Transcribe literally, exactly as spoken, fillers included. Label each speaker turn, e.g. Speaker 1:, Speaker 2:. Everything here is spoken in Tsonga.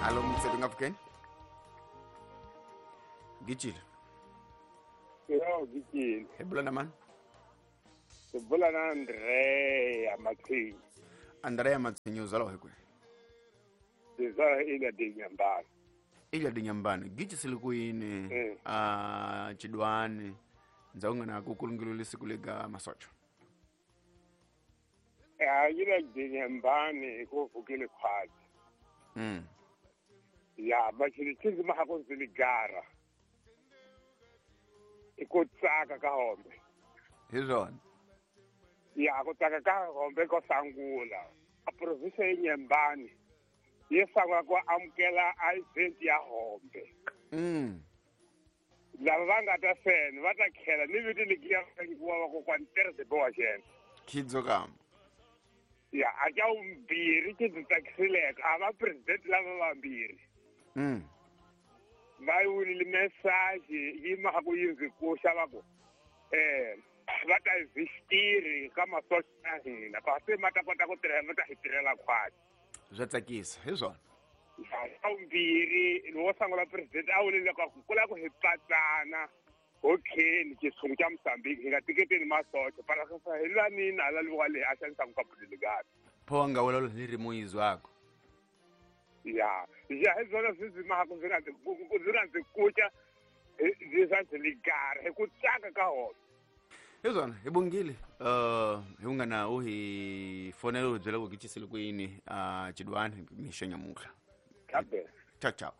Speaker 1: Alo mtsethu ngafukeni gijile.
Speaker 2: Yo gijile.
Speaker 1: Hebulana man.
Speaker 2: Sebulana Andrea Matsinyi.
Speaker 1: Andrea Matsinyi uzalwa hikwe.
Speaker 2: Sizalwa ila dinyambani.
Speaker 1: Ila dinyambani. Giji silikuini
Speaker 2: mm.
Speaker 1: uh, chidwani nzaunga na kukulungiluli sikuliga masocho.
Speaker 2: Eh ila dinyambani ikuvukile khwazi.
Speaker 1: Mm.
Speaker 2: Ya bachili chizi mahakonziligara. Ikutsaka ka hombe.
Speaker 1: Hizona.
Speaker 2: Ya kutsaka ka hombe ko sangula. A province ya Nyembani ye sangula ku amukela event ya hombe.
Speaker 1: Mm.
Speaker 2: Lava va nga ta sena va ta khela ni vito ligiya wa ko kwa nterse bo xena.
Speaker 1: Khidzo kam.
Speaker 2: Ya a ka umbirhi ki ndzi tsakisileka a va president lava vambirhi.
Speaker 1: Mm.
Speaker 2: Va wulile message yi ma ku yi ndzi kuxa va ku eh va ta visitiri ka masocha ya hina kasi ma ta kota ku tirhela va ta hi tirhela khwati.
Speaker 1: Swa tsakisa hi swona.
Speaker 2: Ya umbirhi lowo sangula president a wulile ka ku kula ku hi patsana okay xitshungu xa Mozambique hi nga tiketeni masocha para hi lwanini hala liwa leyi a xanisaka ka buliligati.
Speaker 1: Pho nga wela ni ri muyizwako.
Speaker 2: Ya ya hi swona swi ndzi maka ndzi nga ndzi ndzi nga ndzi kuca ndzi swa ndzi ligara hi ku tsaka ka hona.
Speaker 1: Hi swona hi bongile uh hi ungana u hi fonela u byela ku gichisile kwini uh chidwani mixo nyamuhla.
Speaker 2: Kabe.
Speaker 1: Ciao ciao.